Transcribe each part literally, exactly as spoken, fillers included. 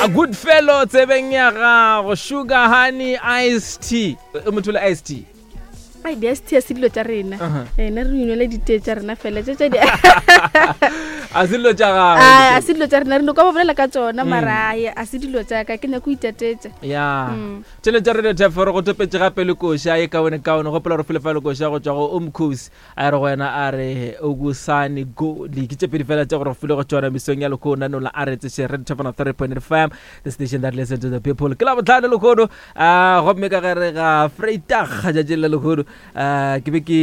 A good fellow tsebeng ya gago sugar honey ice tea e motho le ice tea ai di-ice tea se dilo tša rena Uh-huh. ee ne re inwele ditee tša rena fela tše tša di a se dilo tša Ai, a gago se dilo tša rena re no ka ba bolela ka tsona mara ai a se dilo tša ka ke nyako itatetša ya Mm. tšhelete tša radio tf re go topetše gape le koša ye kaone kaone gopola re fele fa le koša go tšwa go omcosi a re go wena a re okusane goli ke tše pedi fela tša gore go file go tšona mesong ya lekhono nanola a re tseše radio tf three point fm the station that listen to the people ke la botlhano lekhono um gomme ka gare ga freitag tšatšing la lekhono um ke be ke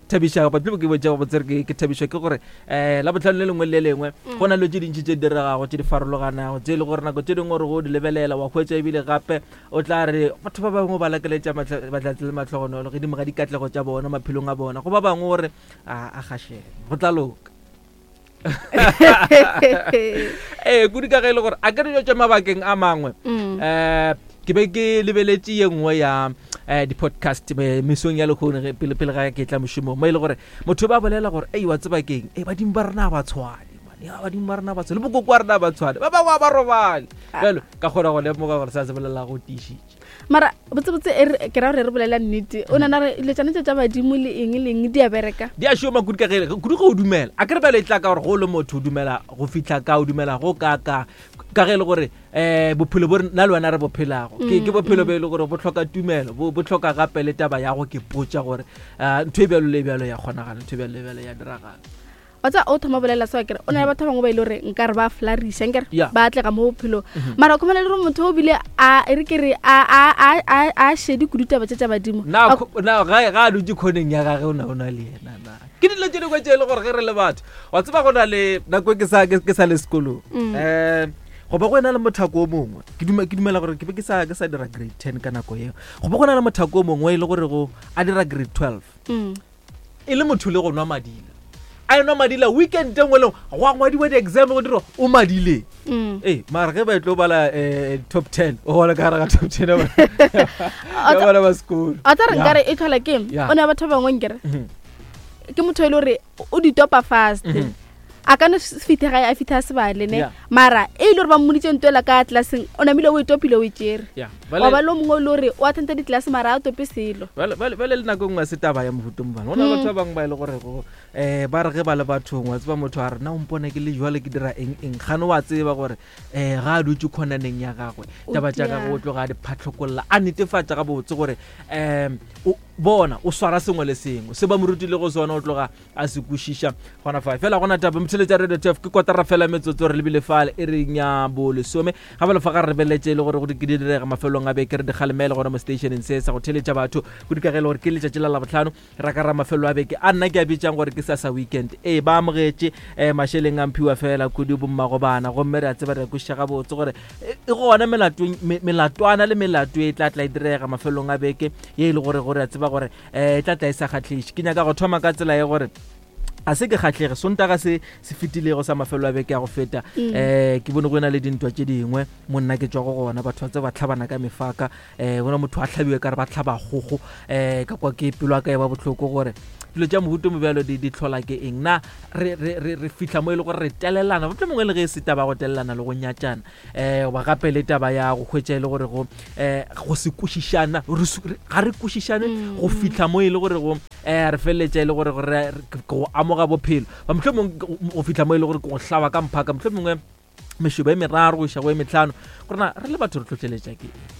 thabiša goba ke botša go botsere ke ke thabišwa ke gore um la botlhano le lengwe le le lengwe go na le tše dintši tše di diregago tše di farologanago tše e le gore nako tše dingwe gore go di lebelela wa hwetša ebile gape o tla re batho ba bangwe ba lakeletša batlatse le matlhogonolo godimo ga dikatlego tša bona maphelong a bona go ba bangwe gore a a gašene go tla loka ee kudu ka ge e le gore a ke re dilo tša mabakeng a mangwe Mm. um ke be ke lebeletše ye nngwe ya um di-podcast me- mesong ya lekgono ge- pele pele ga ke tla mošomong mo e le gore motho ba bolela gore ei wa tseba keng e badimo ba rena ga ba tshwane man. Ya, badimo ba rena ba tshwane le bokoko wa rena ba tshwane ba bangwe ga ba robale jalo ka kgona go lemoga gore sa se bolela go tiišitše mara botsebotse e re- ke ra gore re bolela nnete o nana re dilo tšana tše tša badimo le eng le eng di a bereka di a šoma kudu ka ge kudu ge o dumela a kere bjale e tla ka gore go le motho o dumela go fitlha ka o dumela go ka ka ka ge e le gore um bophelo bo re- nna le wena re bophelago ke ke bophelo bo e le gore bo tlhoka tumelo bo bo tlhoka gape le taba ya go ke potša gore um ntho e bjalo le e bjalo ya kgonagala ntho e bjalo le e bjalo ya diragala wa tsa o thoma bolela seo kere o na le batho ba bangwe ba ile gore nka re ba flariša nkere Yeah. ba atlega mo bophelong mara o khumana le gore motho o bile a e re ke re a a a a a shedi kudu taba tše tša badimo na A- kho- na ga ga a dutse kgoneng ya gage o na o na le yena na ke dilo tše dingwe tše e le gore ge re le batho wa tseba go na le nako e ke sa ke ke sa le sekolong Mm. um go ba go ena le mothako o mongwe ke duma- ke dumela gore ke be ke sa ke sa dira grade ten ka nako eo go ba go na le mothako o mongwe e le gore go a dira grade twelve Mm. e le motho le go nwa madila a enwa madila weekend e nngwe le nngwe go a ngwadiwa di-exam go dira o madile Mm. ee mara ge ba e tlo bala um top ten o gona ka gare ga top ten ya bana- ya bana ba sekolo a tsa re Ya. nkare e tlhola ke eng? Yeah. o ne batho ba bangwe nkere Mhm. ke motho e le gore o di topa fast Mhm. a ka no fitlhe gae a fitlhe a sebale ne Yeah. mara e ile gore ba mmoditse ntoela ka tlelaseng o namile o e topile o e tšere Ya, wa ba bale- le o mongwe o le gore o attenda ditlelase mara a tope selo bale bale- bale le nako e nngwe a se taba ya mohuto mobane go na le batho ba bangwe ba e le gore go um ba re ge ba le bathong wa tseba motho a re na o mpone ke le jwale ke dira eng eng gane wa tseba gore um ga a dutse kgonaneng ya gagwe O taba tša tia. gagwe o tloga a di phatlhokolla a netefatša gabotse gore um bona o swara sengwe le sengwe se ba mo rutile go sona o tloga a se kwešiša gona fa fela gona taba motheletša radio tf ke kotara fela metsotso re lebile fale e reng ya bolesome ga ba lefa ga re lebeletše e le gore go di ke di direga mafelong a beke re di kgalemele gona mo stationeng se sa go theletša batho kudu ka ge e le gore ke letšatši la labotlhano ra ka ra mafelo a beke a nna ke a bitsang gore ke sasa weekend ee ba amogetše um mašeleng a mphiwa fela kudu bommago bana gomme re a tseba re a kwešiša gabotse gore e e gona melatong- me- melatwana le melato e tla tla e direga mafelong a beke ye e le gore gore a tseba gore um e tla tla e sa kgatlhiše ke nyaka go thoma ka tsela ye gore a se ke kgatlhege sontaga se se fetilego sa mafelo a beke ya go feta Mm. um ke bone go na le dintwa tše dingwe mo nna ke tswa go gona batho ba tse ba tlhabana ka mefaka um gona motho a tlhabiwe ka re ba tlhaba kgogo um ka kwa ke pelo ya ka e ba botlhoko gore dilo tša mohuto mobjalo di di tlhola ke eng na re re- re re fitlha mo e le gore re telelana motlho mongwe le ge e se taba ya go telelana le go nyatšana um goba gape le taba ya go hwetša e le gore go um go se kwešišana re su- re- ga re kwešišane Mm, go fitlha mo e le gore go um re feleletša e le gore go re- re- ke go amoga bophelo ba motlho mongwe go fitlha mo e le gore ke go hlaba ka mphaka motlho mongwe mešobo e meraro go iša go e metlhano gorena re le batho re tlhotlheletša ke eng?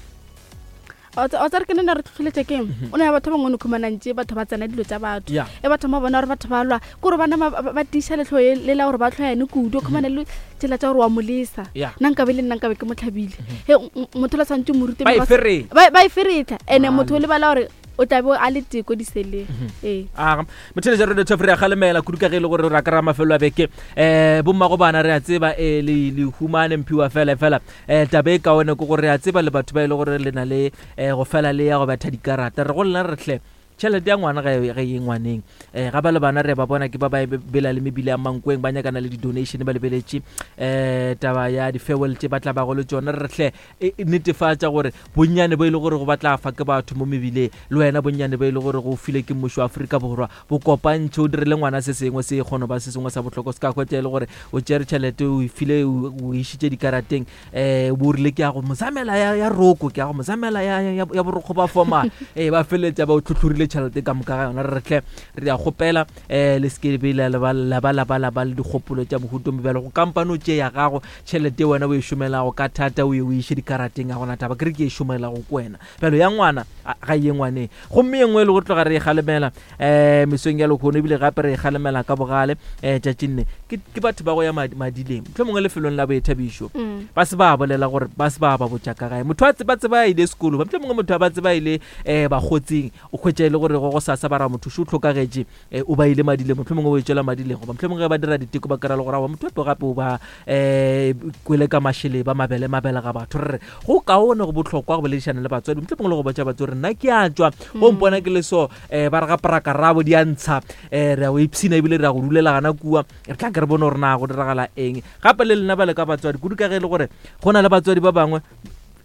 wa tsa re ke nna re tlhotlheletša ke eng o na le batho ba bangwe no khumanantse batho ba tsena dilo tša batho Ya. e batho ba bona gore batho ba lwa ke gore bana ba- ba ba tiiša letlho le la gore ba tlhoyane kudu o khumane le tsela tša gore wa molesa Ya. nna nkabe le nna nkabe ke mo tlhabile he motho la tshwanetse o mo rute Ba e mekgwa- feretla. ba ba e feretla and-e Male. motho o lebala gore o tlabe a le teko diseleng ee aga motheletša radio tf re a galemela kudu ka ge e le gore re ka ra mafelo a beke um bommago bana re a tseba um le le humane mphiwa fela fela um taba e kaone ke gore re a tseba le batho ba e le gore le na le um go fela le ya go betha dikarata re go lena re tle Tšhelete ya ngwana ga e ge ye ngwaneng. um Ga ba le bana re ba bona ke ba ba bela le mebile ya mankweng, ba nyakana le di-donation, ba lebeletše um taba ya di-farewell tše ba tla bago le tšona. Re hle e netefatša gore bonnyane bo e le gore go ba tla fa ke batho mo mebileng, le wena bonnyane bo e le gore go file ke mmušo wa Afrika Borwa, bo kopantšhe o direle ngwana se sengwe se kgone ba se sengwe sa bohlokwa. Se ka hwetša e le gore o tšere tšhelete o e file o išitše dikarateng, um bo rile ke ya go mozamela ya, ya roko, ke ya go mozamela ya, ya, ya borokgo ba formal, ee ba feleletša ba o tlhotlhorile tšhelete ka moka ga yona. Re tle re ya kgopela um le se ke be la ba la ba la ba le dikgopolo tša mohuto mo bjalo go kampane o tše ya gago tšhelete wena o e šomelago ka thata o ye o iše dikarateng. A gona taba ke re ke e šomelago ko wena bjalo ya ngwana ga ye ngwaneng. Gomme ye nngwe e le go tloga re e kgalemela um mesong ya lekgono, ebile gape re e kgalemela ka bogale um tšatšing le ke batho ba go ya madileng mohlomongwe lefelong la boithabišo, ba se ba bolela gore ba se ba ba botša ka gae. Motho a tseba tseba ile sekolo, mohlomongwe motho a ba tseba ile um bakgotsing, o hwetša e le gore go go sasa ba ra motho šo o hlokagetše, o ba ile madileng, mohlomongwe o e tšwela madileng, goba mohlomongwe ge ba dira diteko ba kry-a le gore aowa motho epe gape o ba um kwele ka mašele ba mabele mabele ga batho. Re re go kaone go bohlokwa go boledišana le batswadi, mohlomongwe le go botša batswadi nna ke a tšwa go mpona ke le so um ba re ga prakarabo di a ntsha, um re ya go ipshina ebile re ya go dulela gana kua, re tla ke re bone gore na go diragala eng. Gape le lena ba le ka batswadi kudu ka ge e le gore go na le batswadi ba bangwe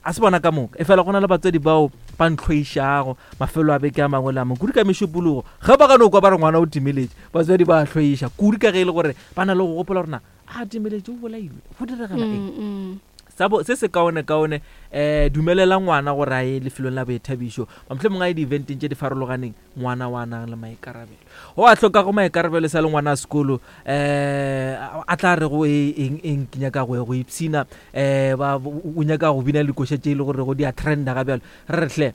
a se bona ka moka, e fela go na le batswadi bao ba ntlhoišago mafelo a beke a mangwe le a mangwe kudu ka mešupologo, ge ba ka no kwa ba re ngwana o timeletše, batswadi ba hloiša kudu ka ge e le gore ba na le go gopola gore na a timeletše o bolailwe go diregela eng. Sabo se se kaone kaone eh dumelela ngwana gore a ye lefelong la boithabišo, mohlomongwe a ye di-eventeng tše di farologaneng, ngwana wa nang le maikarabelo o a hlokago maikarabelo sa le ngwana a sekolo, eh a tla re go eng eng ke nyaka go go ipshina, eh ba o nyaka go bina dikoša tše e le gore go di a trenda ga bjalo. Re re hle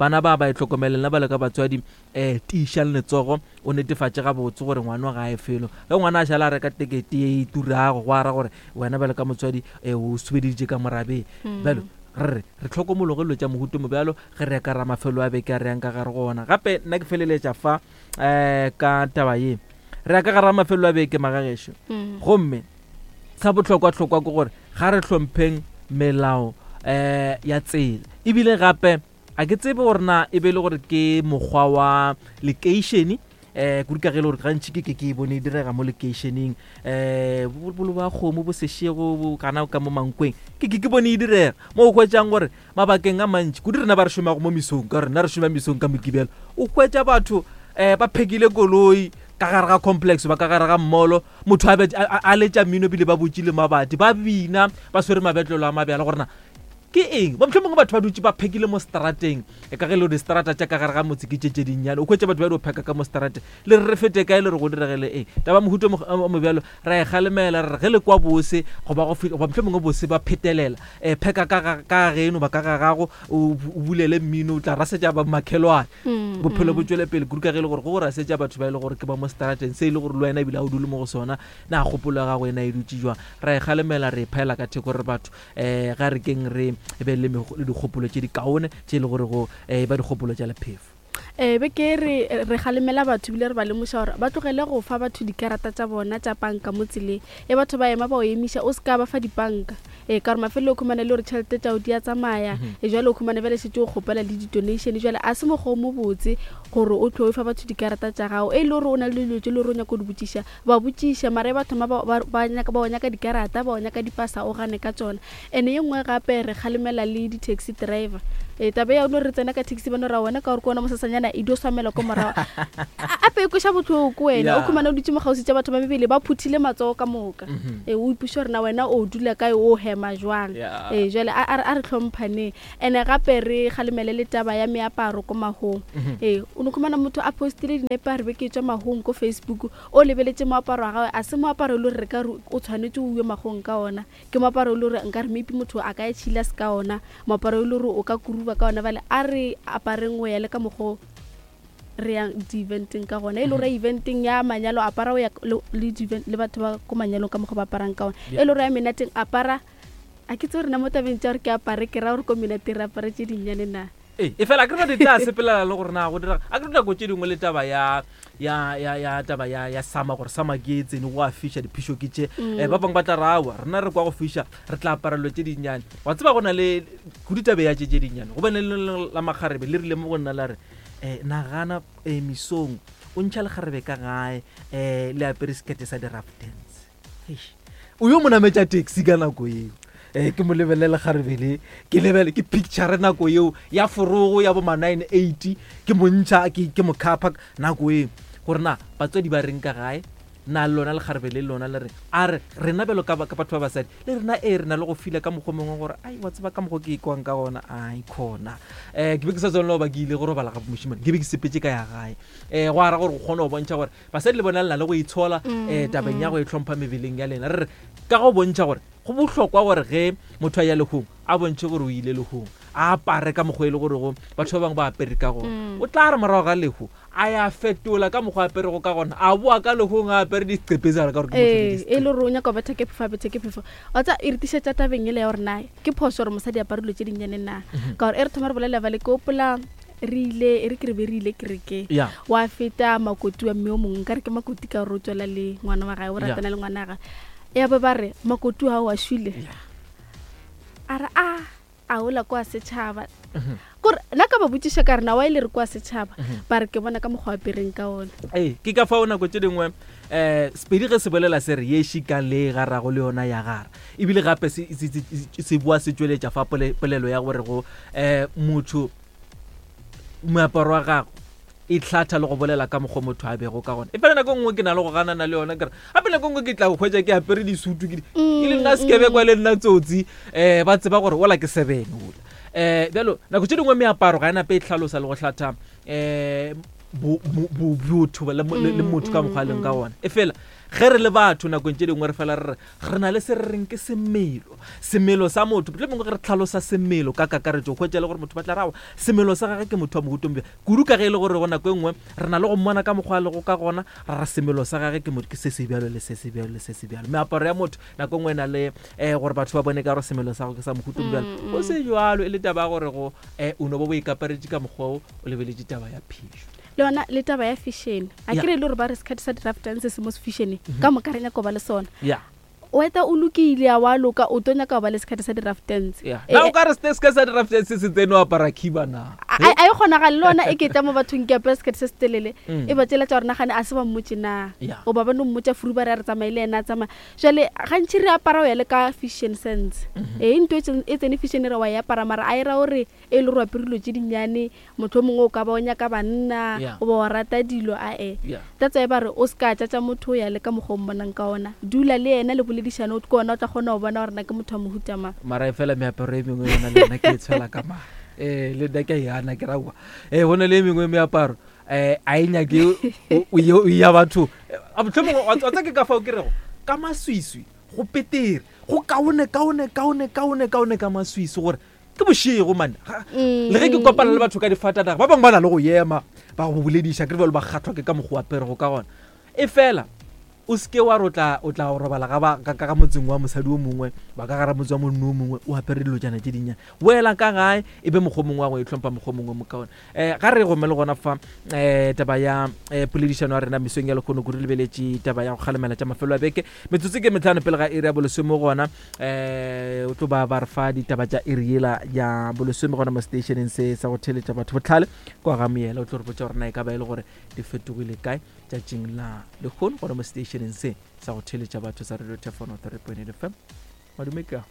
bana ba ba e hlokomeleng ba le ka batswadi, um tiišang letsogo o netefatše gabotse gore ngwana ga e felo. Ge ngwana a šala a reka tekete ye e turago go ara gore wena bjalo ka motswadi um o subeditše ka morabeng bjalo, re re re tlhokomologe dilo tša mohuto mo bjalo ge re ya ka ra mafelo a beke a re yang ka gare go ona. Gape nna ke feleletša fa um ka taba ye, re ya ka gare ga mafelo a beke magagešo, gomme sa bohlokwa-hlokwa ke gore ga re hlompheng melao um ya tsela. Ebile gape a ke tsebe gore na e be le gore ke mokgwa wa lekeišene, um kudu ka ge e le gore gantši ke ke ke e bone e direga mo lekeišeneng, um bolo ba kgomo bo sešego gana ka mo mankweng ke ke ke bone e direga mo o hwetšang gore mabakeng a mantši kudu rena ba re šomago mo mesong, ka gore rena re šoma mesong ka Mokibelo, o hwetša batho um ba phekile koloi ka gare ga complex ba ka gare ga mmolo, motho a letša mmino bile ba botšile mabati ba bina ba swere mabetlelo a mabjala gore na ke eng. Ba mohlomongwe batho ba dutše ba phekile mo strateng, e ka ge le distrata tša ka gare ga motse ke tše tše dinnyane, o hwetša batho ba di pheka ka mo strateng, le re re fete kae, le re go diregele eng. Taba mohuto o mobjalo ra e kgalemela, re re ge le kwa bose goba goba mohlomongwe bose ba phetelela, um pheka ka ka geno ba ka ga gago o bulele mmino o tla rasetša ba makhelwane, bophelo bo tšwele pele kudu ka ge e le gore go go rasetša batho ba e le gore ke ba mo strateng se e le gore le wena ebile a o dule mo go sona, na kgopolo ya gago ena e dutše jwang. Ra e kgalemela re e phaela ka theko re batho um ga re keng re be le dikgopolo tše di kaone tše e le gore go um ba dikgopolo tša lephefo. Eh be ke re re kgalemela batho bile re ba lemoša gore ba tlogele go fa batho dikarata tša bona tša panka mo tseleng, e batho ba ema ba o emiša o se ka ba fa dipanka, e ka gore mafelelo o khumane le gore tšhelete tšao di a tsamaya, e jwale o khumane bjale šetše o kgopela le di-donation, jwale a se mokgwa o mobotse gore o tlo fa batho dikarata tša gago, e le gore o na le dilo tše le gore o nyaka go di botšiša ba botšiša, mara e batho ma ba ba nyaka ba o nyaka dikarata ba o nyaka dipasa o gane ka tšona. Ene ye nngwe gape re kgalemela le di-taxi driver, e taba ya no re tsena ka taxi ba no ra wena ka gore ke wona mosasanyana e dio swamela ko morago ape e kweša bohloko wena, o khumana o dutše mo kgauswi tša batho ba mebele ba phuthile matsogo ka moka, e o ipuša gore na wena o dula kae o hema jwang, e jwale a re tlhomphaneng. Ene gape re kgalemele le taba ya meaparo ko mahong, e o no khumana motho a postile dinepe a re be ke tšwa mahong ko Facebook, o lebeletše moaparo wa gagwe a se moaparo e le gore re ka re o tshwanetse o uwe mahong ka ona, ke moaparo e le gore nka re maybe motho a ka e tšhila se ka ona, moaparo e le gore o ka kuruba ka ona, bale a re apareng go ya le ka mokgo re yang di-eventeng ka gona, e le gore eventeng ya manyalo apara o ya le batho ba ko manyalong ka mokgo ba aparang ka ona, e le gore ya menateng apara a ke tse rena mo tabeng tša gore ke apare ke ra gore ko menateng re apare tše dinnyane na. E fela ke re di tla sepelela le gore na go dira a ke nako tše dingwe le taba ya ya ya ya taba ya ya sama gore sama ke e tsene go a fiša diphišo ke tše, um ba bangwe ba tla ra awa rena re kwa go fiša re tla aparelo tše dinnyane, wa tseba go na le kudu tabe ya tše tše dinnyane go bane le la makgarebe le rile mo go nna la re um nagana um mesong o ntšha lekgarebe ka gae um le apere sekete sa di-rough dance. Eish. O yo mo nametša taxi ka nako eo, um ke mo lebelele lekgarebe le, ke lebele ke picture nako eo ya forogo ya bo ma nine eight, ke mo ntšha ke ke mo khapha nako eo gore na batswadi ba reng ka gae, na le lona lekgarebe le lona le re a re rena bjalo ka ba- ka batho ba basadi le rena e re na le go fila ka mokgwa mongwe gore ai wa tseba ka mokgwa ke ikwang ka gona, ai khona. Um ke be ke sa tswanela go ba ke ile go robala ga mošimane, ke be ke sepetse ka ya gae. Um go ara gore go kgone go bontšha gore basadi le bona le na le go itshola um tabeng ya go itlhompha mebeleng ya lena. Re re ka go bontšha gore go bohlokwa gore ge motho a ya lehung a bontšhe gore o ile lehung, a apare ka mokgwa e le gore go batho ba bangwe ba apere ka gona. O tla re morago ga lehu a ya fetola ka mokgwa a aperego ka gona, a boa ka lehung a apere diqepetsana ka gore ke motho le ee e diseqepe. le gore o nyaka go betha ke phefo a bethe ke phefo. Wa tsa e re tišetša tabeng ele ya gore na ke phoso gore mosadi apare dilo tše dinnyane na, ka gore e re thoma re bolela bale ke opola re ile e re ke re be re ile kerekeng, Ya. wa feta makoti wa mme o mongwe, nkare ke makoti ka gore o tswela le ngwana wa gae, o Ya. ratana le ngwana wa gae, ya ba ba re makoti wa wa šwile, Ya. a re a a ola kwa setšhaba, kore nna ka ba botšiša ka re na wa ile re kwa setšhaba, ba re ke bona ka mokgwa wa apereng ka ona. Ee, ke ka fao nako tše dingwe um sepedi ge se bolela se re ye šikang le e garago le yona ya gara, ebile gape se, se, se, se boa se tšweletša fa pole, polelo ya gore go um motho moaparo wa gago e hlatha le go bolela ka mokgwa motho a bego ka gona. E fela nako nngwe ke na le go ganana le yona, ke re gape nako nngwe ke tla go hwetša ke apere disutu ke di- e le nna sekebekwa le nna tsotsi, um ba tseba gore ola ke seven ola. Um bjalo nako tše dingwe meaparo ga e nape e hlalosa le go hlatha um botho le mo- le le motho ka mokgwa a leng ka gona. E fela ge re le batho nakong tše dingwe re fela re re re na le se re reng ke semelo, semelo sa motho. Mohlomongwe mongwe ge re tlhalosa semelo ka kakaretšo, o hwetša le gore motho ba tla rawa semelo sa gagwe ke motho wa mohuta o mobjang, kudu ka ge e le gore go nako e nngwe re na le go mmona ka mokgwa a lego ka gona, ra re semelo sa gagwe ke motho ke se se bjalo le se se bjalo le se se bjalo. Meaparo ya motho nako e nngwe e na le um gore batho ba bone ka gore semelo sa gagwe ke sa mohuta o mobjalo, go se jwalo e le taba ya gore go um o no bo bo ikaparetše ka mokgwa o o lebeletše taba ya phišo. Le yona le taba ya fashion, a Ya. ke re e le gore ba re sekgati sa di-rough dance se mo fashion ka moka re nyaka go ba le sona. Ya. O eta o lokile a wa loka, o tlo nyaka go ba le sekgati sa di-rough dance. Ya. Eh, Na o ka re se se sa di-rough dance se tsene o apara khiba na? a a e kgonagale le yona e ke tla mo bathong ke apere sekgati se se telele, Mm. e ba tsela tša gore nagane a se ba mmotse na, Ya. goba ba no mmotša furu ba re a re tsamaye le yena a tsamaya. Jwale gantši re apara go ya le ka fashion sense, ee ntho e tsene- e tsene fashion re wa e apara, mara a e ra gore e le gore o apere dilo tše dinnyane, motho o mongwe o ka ba o nyaka banna Ya. goba wa rata dilo ae. Ya. That's why ba re o se ka tšatša motho o ya le ka mokgwa o mmonang ka ona, dula le yena le boledišane, o ke ona o tla kgona go bona gore na ke motho wa mohuta mang. Mara e fela meaparo e mengwe yona le yona ke e tshwela ka mare. Eh, le nna ke a e hana, ke ra aowa. Eh, go na le e mengwe meaparo eh a e nyake o- o ye- o ya batho. Eh, a mohlomongwe wa tseba ke ka fao ke rego ka maswiswi go petere, go kaone, kaone, kaone, kaone, kaone ka maswiswi gore ke bošego man. Ga- le ge ke kopana le batho ka difatanaga, ba bangwe ba na le go ema ba go bolediša, ke re bjalo ba kgathwa ke ka mokgwa o aperego ka gona. E fela o seke wa re o tla, o tla robala ga ba, ka, ka ga motseng wa mosadi o mongwe, ba ka gara motse wa monna o mongwe, o apere dilotšana tše dinnyane, boela ka gae e be mokgwa o mongwe wa go itlhompha, mokgwa o mongwe mo kaone. Um ga re gome le gona fa um taba ya um poledišano ya rena mesong ya lekgono, kudu lebeletše taba ya go kgalemela tša mafelo a beke, metsotso ke metlhano pele ga iri ya bolesome gona. Um o tlo ba ba re fa ditaba tša iri yela ya bolesome gona mo stationeng se sa go theeletša batho botlhale kwa ga Moela, o tlo re botša gore na e ka ba e le gore di fetogile kae tšatšing la lekgono gona mo stationeng se sa go theeletša batho sa Radio Thefano three point eight F M. Madume ke a.